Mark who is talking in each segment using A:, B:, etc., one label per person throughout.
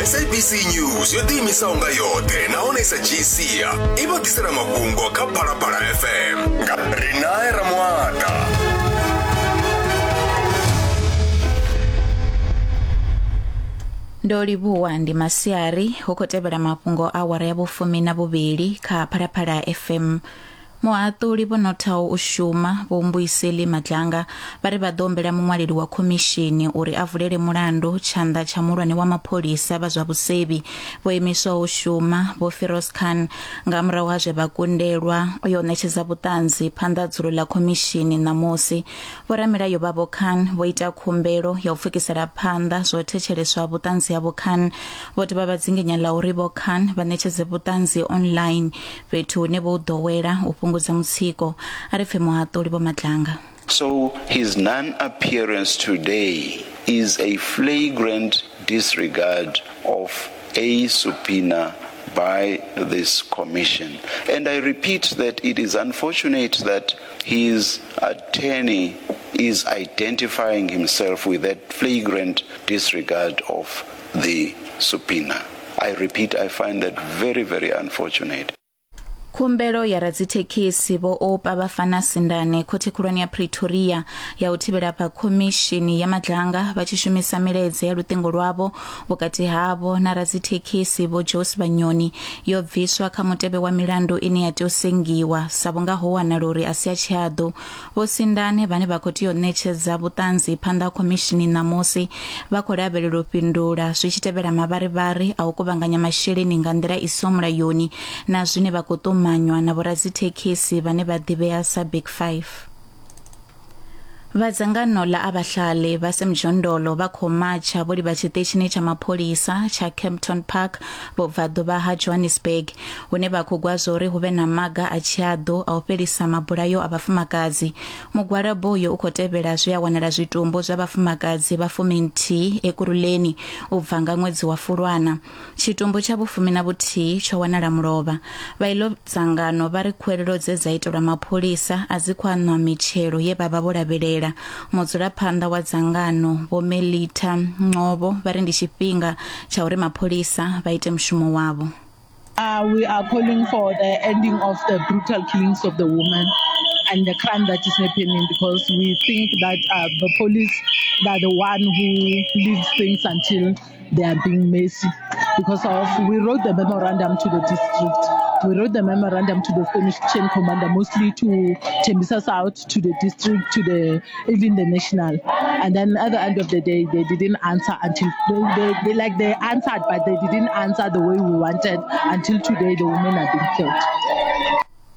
A: SABC News yo ḓiimisaho nga yoṱhe nahone i sa dzhii sia i vha ḓisela mafhungo kha Phalaphala FM nga Rinae Ramuata.
B: Ndo livhuwa ndi masiari hu khou tevhela mafhungo a awara ya vhufumi na vhuvhili kha Phalaphala FM. Muhaṱuli vho nothaho u shuma, Vho Mbuyiseli Madlanga, vha ri vha ḓo humbela muṅwaleli wa khomishini uri a vulele mulandu tshanḓa tsha muhulwane wa mapholisa vha zwa vhusevhi vho imiswaho u shuma, Vho Firoz Khan, nga murahu ha zwe vha kundelwa u yo ṋetshedza vhuṱanzi phanḓa ha dzulo ḽa khomishini ṋamusi. Vhoramilayo vha Vho Khan vho ita khumbelo ya u pfukisela phanḓa zwo thetsheleswa vhuṱanzi ha Vho Khan. Vho dovha vha dzinginya ḽa uri Vho Khan vha ṋetshedze vhuṱanzi online fhethu hune vho ḓowela u fhungudza mutsiko. A ri pfe muhaṱuli Vho Madlanga.
C: So his non-appearance today is a flagrant disregard of a subpoena by this commission. And I repeat that it is unfortunate that his attorney is identifying himself with that flagrant disregard of the subpoena. I repeat, I find that very, very unfortunate.
B: Khumbelo ya radzithekhisi Vho Oupa Bafana Sindane khothe khulwane ya Pretoria ya u thivhela fha khomishini ya Madlanga vha tshi shumisa milaedza ya luṱingo lwavho vhukati havho na radzithekhisi Vho Joe Sibanyoni yo bviswa kha mutevhe wa milandu ine ya tea u sengiwa sa vhunga ho wanala uri a si ya tshihaḓu. Vho Sindane vhane vha khou tea u ṋetshedza vhuṱanzi phanḓa ha khomishini ṋamusi vha khou lavhelelwa u fhindula zwi tshi tevhela mavharivhari a u kuvhanganya masheleni nga nḓila i siho mulayoni na zwine vha khou ṱumanywa na vhoradzithekhisi vhane vha ḓivhea sa Big Five. Vha dzangano ḽa Abahlali vha Semjondolo vha khou matsha vho livha tshiṱitshini tsha mapholisa tsha Kempton Park vhubvaḓuvha ha Johannesburg hune vha khou gwa zwa uri hu vhe na maga a tshiaḓu a u fhelisa mabulayo a vhafumakadzi. Mugwalabo uyo u khou tevhela zwe a wanala zwitumbu zwa vhafumakadzi vha fuminthihi Ekurhuleni u bva nga ṅwedzi wa Fulwana. Tshitumbu tsha vhufumi na vhuthihi tsho wanala mulovha. Vha iḽo dzangano vha ri khuwelelo dze dza itelwa mapholisa a dzi khou aṋwa mitshelo ye vha vha vho lavhelela. Mudzulaphanḓa wa dzangano Vho Melita Ngcobo vha ri ndi tshifhinga tsha uri mapholisa vha ite mushumo wavho.
D: We are calling for the ending of the brutal killings of the women and the crime that is happening, because we think that the police are the one who leads things until they are being messy. Because of we wrote the memorandum to the district, we wrote the memorandum to the Spanish chain commander, mostly to Tembisa South, to the district, to the even the national. And then at the end of the day, they didn't answer until they answered, but they didn't answer the way we wanted. Until today, the women are being killed.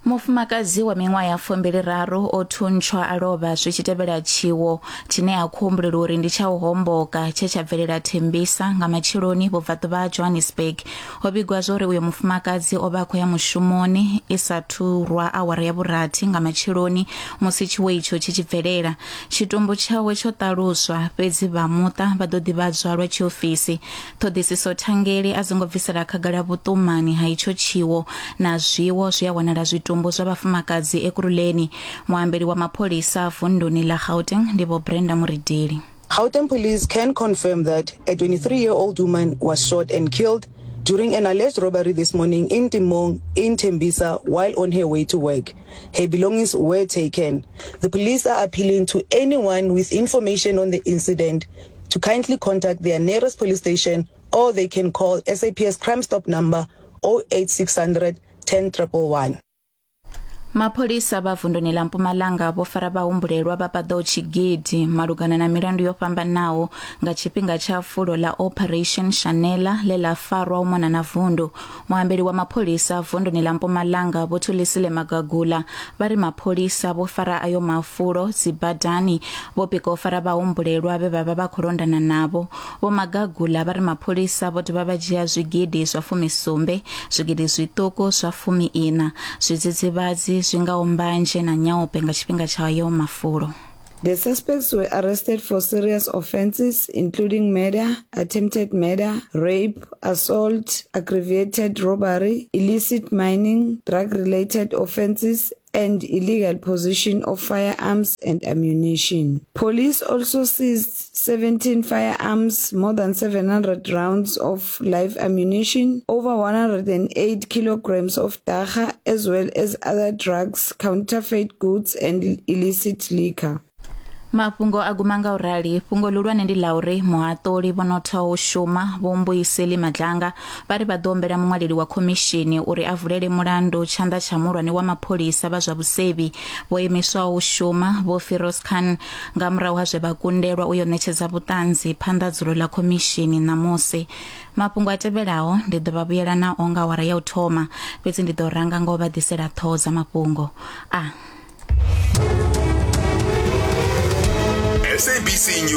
B: Mufumakadzi wa miṅwaha ya 23 o thuntshwa a lovha zwi tshi tevhela tshiwo tshine a khou humbulelwa uri ndi tsha u homboka tshe tsha bvelela Thembisa nga matsheloni vhubvaḓuvha ha Johannesburg. Ho vhigwa zwa uri uyo mufumakadzi o vha a khou ya mushumoni i sa thu rwa awara ya vhurathi nga matsheloni musi tshiwo itsho tshi tshi bvelela. Tshitumbu tshawe tsho ṱaluswa, fhedzi vha muṱa vha ḓo ḓivhadzwa lwa tshiofisi. Ṱhoḓisiso thangeli a dzi ngo bvisela khagala vhuṱumani ha itsho tshiwo na zwiwo zwi a wanala zwitumbu zwa vhafumakadzi Ekurhuleni. Muambeli wa mapholisa vunduni ḽa Gauteng ndi Vho Brenda Muridili.
E: Gauteng police can confirm that a 23-year-old woman was shot and killed during an alleged robbery this morning in Timong in Tembisa while on her way to work. Her belongings were taken. The police are appealing to anyone with information on the incident to kindly contact their nearest police station, or they can call SAPS Crime Stop number 08600 10111.
B: Mapholisa vha vunduni ḽa Mpumalanga vho fara vhahumbulelwa vha paḓaho tshigidi malugana na milandu yo fhambanaho nga tshifhinga tsha fulo ḽa Operation Shanela ḽe ḽa farwa u mona na vundu. Muambeli wa mapholisa vunduni ḽa Mpumalanga Vho Thulisile Magagula vha ri mapholisa vho fara ayo mafulo dzibadani vho pika u fara vhahumbulelwa vhe vha vha vha khou londana navho. Vho Magagula vha ri mapholisa vho dovha vha dzhia zwigidi zwa fumisumbe, zwigidi zwiṱuku zwa fumi-iṋa, zwidzidzivhadzi zwi ngaho mbanzhe na nyaope nga tshifhinga tsha ayo mafulo.
F: The suspects were arrested for serious offences including murder, attempted murder, rape, assault, aggravated robbery, illicit mining, drug-related offences and illegal possession of firearms and ammunition. Police also seized 17 firearms, more than 700 rounds of live ammunition, over 108 kilograms of dagga, as well as other drugs, counterfeit goods, and illicit liquor.
B: Mafhungo a guma nga u rali. Fhungo ḽihulwane ndi ḽa uri muhaṱuli vho nothaho u shuma Vho Mbuyiseli Madlanga vha ri vha ḓo humbela muṅwaleli wa khomishini uri a vulele mulandu tshanḓa tsha muhulwane wa mapholisa vha zwa vhusevhi vho imiswaho u shuma Vho Firoz Khan nga murahu ha zwe vha kundelwa u yo ṋetshedza vhuṱanzi phanḓa dzulo ḽa khomishini ṋamusi. Mafhungo a tevhelaho ndi ḓo vha vhuyela nao nga awara ya u thoma, fhedzi ndi ḓo ranga nga u vha ḓisela ṱhoho dza mafhungo a.
A: SABC News.